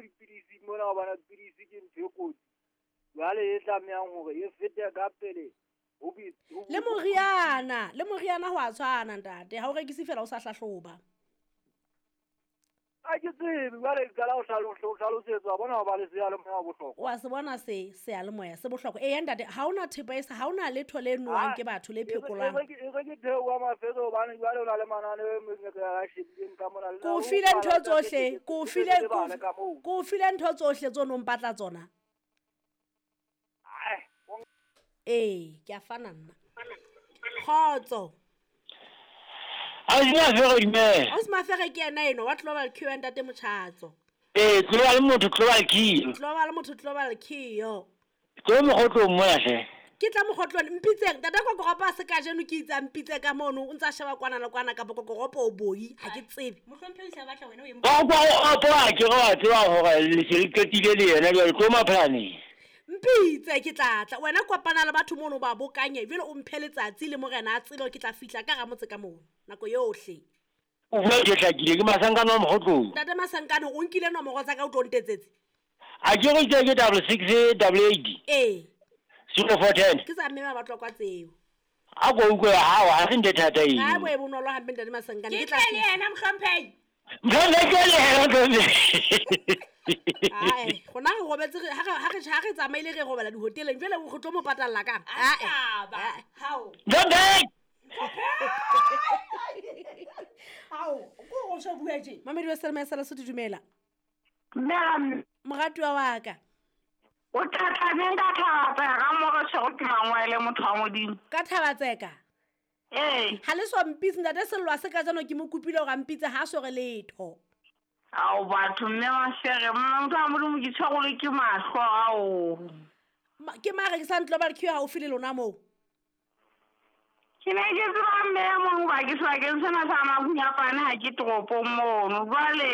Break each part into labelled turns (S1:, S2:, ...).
S1: dipidisi mona hobane pidisi ke ntho e kotsi. Jwale e tlamehang hore e fete ka pele ho
S2: Le moriana, le moriana ho a tshwana ntate. Ha o rekise fela o sa hlahloba.
S1: A ke tsebe jwale ke qala ho hlalosetswa bona ho ba le seyalemoya bohlokwa.
S2: Wa se bona se seyalemoya se bohlokwa. Eya ntate, ha hona thepa e sa, ha hona letho le nowang ke batho le phekolang.
S1: E re ke theoha mafetso hobane jwale o na le mananeo e meng e re a shebileng ka mona.
S2: Ke o file ntho tsohle, ke o file ke o file ntho tsohle tso no mpatla tsona. Ee, ke a fana nna. Kgotso.
S3: Ausi Mafere dumela.
S2: Ausi Mafere ke yena eno wa Global Cure ntate Motjhatso.
S3: Ee, Global motho Global Cure.
S2: Global motho Global Cure.
S3: Tlo mokgotlong mona hle.
S2: Ke tla mokgotlong mpitseng tata kokoropo a se kajeno ke itse a mpitse ka mono o ntsa sheba kwana le kwana kapa kokoropo o boi ha ke tsebe.
S4: Mohlomphehi sa batla wena o e
S3: Kokoropo a ke re wa tseba hore le se le qetile le yena jwale tlo maphalaneng.
S2: Mpitse ke tla tla wena kopana le batho mono ba bokanye jwale o mphe letsatsi le morena a tsebe ke tla fihla ka ramotse ka mono nako yohle.
S3: O bua ke hlakile ke Masankane wa mokgotlong.
S2: Ntate Masankane o nkile nomoro tsa ka o tlo ntetsetse.
S3: A ke re ke 66 88.
S2: Ee.
S3: 0410.
S2: Ke tsa mme ba batlwa kwa tseo.
S3: A ko utlwe hao ha se ntho e thata eno.
S2: Ha bo e bonolo hampe ntate Masankane
S4: Ke
S2: ke tla
S4: tle le
S2: fihla.
S4: yena mohlomphehi.
S3: Mhlonge ke le yena mhlonge.
S2: Ae, rona re robetse ha re ha re ha re tsamaile re robala dihoteleng jwale o re tlo mo patalla kang?
S4: A
S2: Ae.
S4: taba.
S2: Ae.
S4: Hao.
S3: Mhlonge.
S4: Hao, ko o so bua tje.
S2: Mamedi wa Selma ya Lesotho dumela.
S5: Mme
S2: Moratuwa wa ka.
S5: o tla neng ka Thabatseka ka mo re tshwere ke mangwele motho wa Modimo.
S2: Ka Thabatseka.
S5: Ee.
S2: Ha le so mpitse ntate Sello a se ka jano ke mo kopile hore a mpitse ha so re letho.
S5: Ao batho mme Mafere, motho wa Modimo ke tshwerwe ke mahlo ao.
S2: Ke mare ke sa Global Cure haufi le lona moo.
S5: Ke ne ke tseba mme e mong hoba ke sebakeng sena sa Mahunyapane ha ke toropong mono. Jwale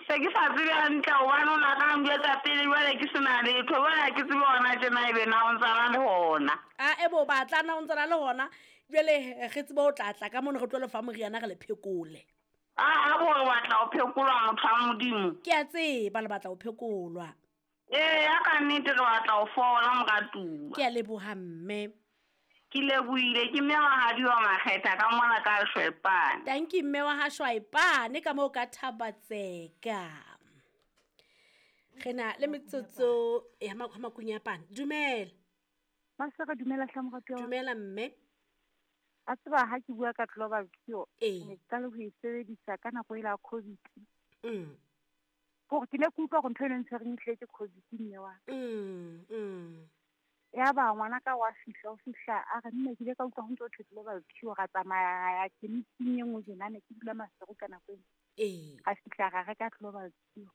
S5: se ke sa tsebe hantle hobane o na ka njwetsa pele jwale ke sena letho. Jwale ha ke tsebe hona tjena ebe na o ntsana le hona.
S2: A ebe o batla na o ntsana le hona. Jwale re tsebe o tla tla ka mono re tlo lefa moriana re le phekole.
S5: A bo re batla ho phekolwa motho wa Modimo.
S2: Ke a tseba le batla ho phekolwa.
S5: Ee, ya ka nnete re batla ho fola moratuwa.
S2: Ke a leboha mme.
S5: Ke lebohile ke mme wa hadi wa Makgetha ka mona ka Shwepane.
S2: Thank you mme wa ha Shwepane ka moo ka Thabatseka. Re na le metsotso ya Makunyapane. Dumela.
S6: Masera dumela hle moratuwa.
S2: Dumela mme.
S6: A tseba ha ke bua ka Global Cure.
S2: Ee.
S6: Ne ke qala ho e sebedisa ka nako ela ya COVID. Hore ke ne ke utlwa hore ntho e neng tshwereng e tlile ke COVID mme wa ka. Ya ba ngwana ka wa fihla o fihla a re nne ke ile ka utlwa ho ntso thwe Global Cure ra tsamaya ra ya chemist-ing e nngwe tjena ne ke dula Maseru ka nako eno.
S2: Ee.
S6: Ra fihla ra reka Global Cure.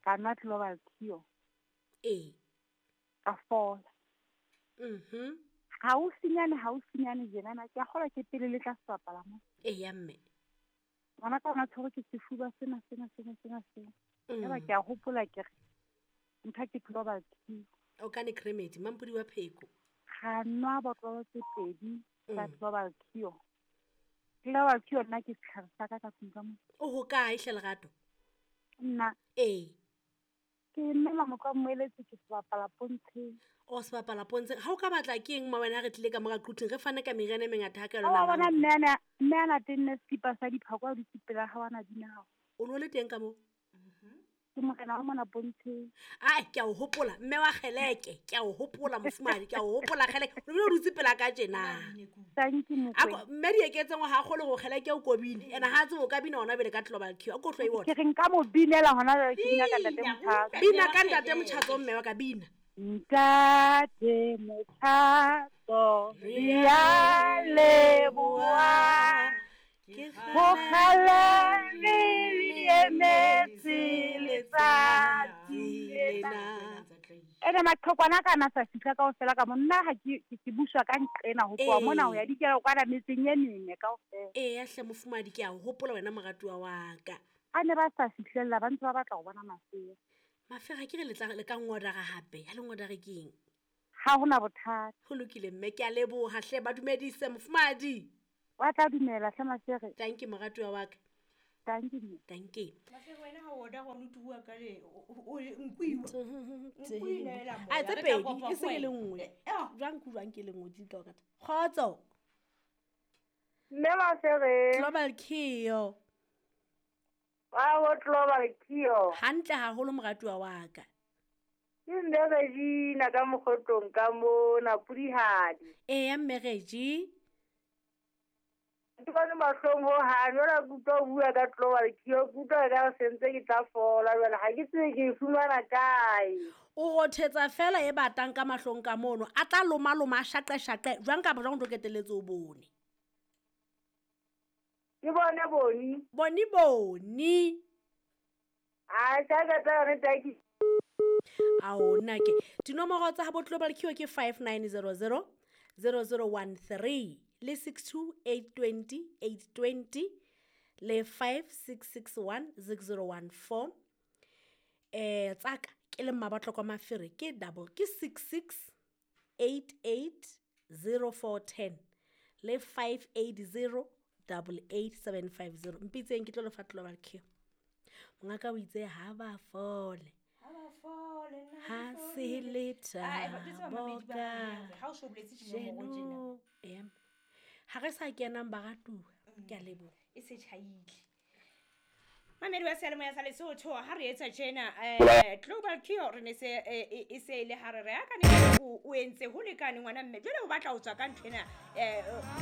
S6: Ka nwa Global Cure.
S2: Ee.
S6: Ka fola. Haufinyane tjenana ke a kgolwa ke pele le tla sebapala mo.
S2: Ee ya mme.
S6: Ngwana ka ona tshwerwe ke sefuba sena sena sena sena sena. Yaba ke a hopola ke re ntho ke Global Cure.
S2: O ka ne cremate mampodi wa pheko.
S6: Ra nwa botlolo tse pedi tsa Global Cure. Global Cure nna ke setlhare sa ka ka tlung ka mo.
S2: O hokae hle Lerato?
S6: Nna.
S2: Ee.
S6: Ke mme Mamoko a mmoeletse ke sebapala pontsheng.
S2: O sebapala pontsheng. Ha o ka batla ke eng ma wena re tlile ka mora Quthing re fane ka meriana e mengata ha ka
S6: Ha wa
S2: lona.
S6: bona mme ana tenne sekipa sa diphako a dutse pela ha wana dina hao.
S2: O no le teng ka moo?
S6: Ke morena wa mona pontsheng.
S2: Ai ke a o hopola mme wa kgeleke, ke a o hopola mofumadi, ke a o hopola kgeleke. O bile o dutse pela ka tjena.
S6: Thank you Mokwena.
S2: Ako mme di eketseng ha kgole go kgeleke o kobile. Ena ha tsebe o ka bina hona bele ka Global Cure. A ko tlo e bona.
S6: Ke re nka mo binela hona jwale ke bina ka ntate Motjhatso.
S2: Bina ka ntate Motjhatso mme wa ka bina.
S6: Ntate Motjhatso re a leboha.
S2: Ke
S6: Ho kgale re emetse letsatsi lena. Ene maqhekwana ka na sa fihla kaofela ka mo nna ha ke buswa ka nqena ho tloha mona ho ya dikela kwana metseng e mene kaofela.
S2: Ee ya hle mofumadi ke a o hopola wena moratuwa wa ka.
S6: A ne ba sa fihlella ba ntse ba batla ho bona Mafere.
S2: Mafere ke re le tla le ka ngodara hape. Ha le ngodare ke eng?
S6: Ha hona bothata.
S2: Ho lokile mme ke a leboha hle ba dumedise mofumadi.
S6: Wa tla dumela hle Mafere.
S2: Thank you moratuwa wa ka.
S6: Thank you.
S2: Thank you.
S4: Mafero wena ha o order wa bua ka le o nkuiwa. Nkuinela moya.
S2: A tse
S4: Re tla
S2: pedi
S4: kopa
S2: e seng e le
S4: ho
S2: nngwe.
S4: wena. Eh,
S2: Jwang ke jwang ke le nngwe di tla kata. Kgotso.
S5: Mme Mafere,
S2: Global Kio.
S5: wa ho Global Kio.
S2: Hantle haholo moratuwa wa ka.
S5: Ke mme Regina ka mokgotlong ka mona Pudihadi.
S2: Eya mme Reggie.
S5: Ke bone mahlong hohang, jwale ke utlwa o bua ka Global Kio, ke utlwa ekare se ntse ke tla fola jwale ha ke tsebe ke e fumana kae.
S2: O rothetsa fela e batang ka mahlong ka mono. A tla loma loma a shaqe shaqe. Jwang kapa jwang o tlo qetelletse o bone.
S5: Ke bone boni.
S2: Boni boni.
S5: A sa ka tla yone tsa ke
S2: Ao nna ke. Dinomoro tsa habo Global Cure ke 5900 0013 le 62820 820 le 5661 6014. Tsaka ke le Mmabatlokwa kwa Mafere ke double ke 66 88 0410 le 580 88750. Mpitseng ke tlo lefa Global Cure. Mongaka o itse ha ba fole.
S4: Ha ba fole, nna
S2: Ha
S4: ke
S2: se
S4: fodile.
S2: le
S4: Ah, eh, ba tseba
S2: thabo
S4: mamedi ba
S2: ka
S4: rona hore ha o so boletse dinomoro tjena.
S2: jeno. Ea. Ha re sa kenang baratuwa, ke a leboha.
S4: E se tjhaile. Mamedi wa seyalemoya sa Lesotho ha re etsa tjena Global Cure re ne se e se e le hare re akane o entse ho lekane ngwana mme jwale o batla ho tswa ka nthwena.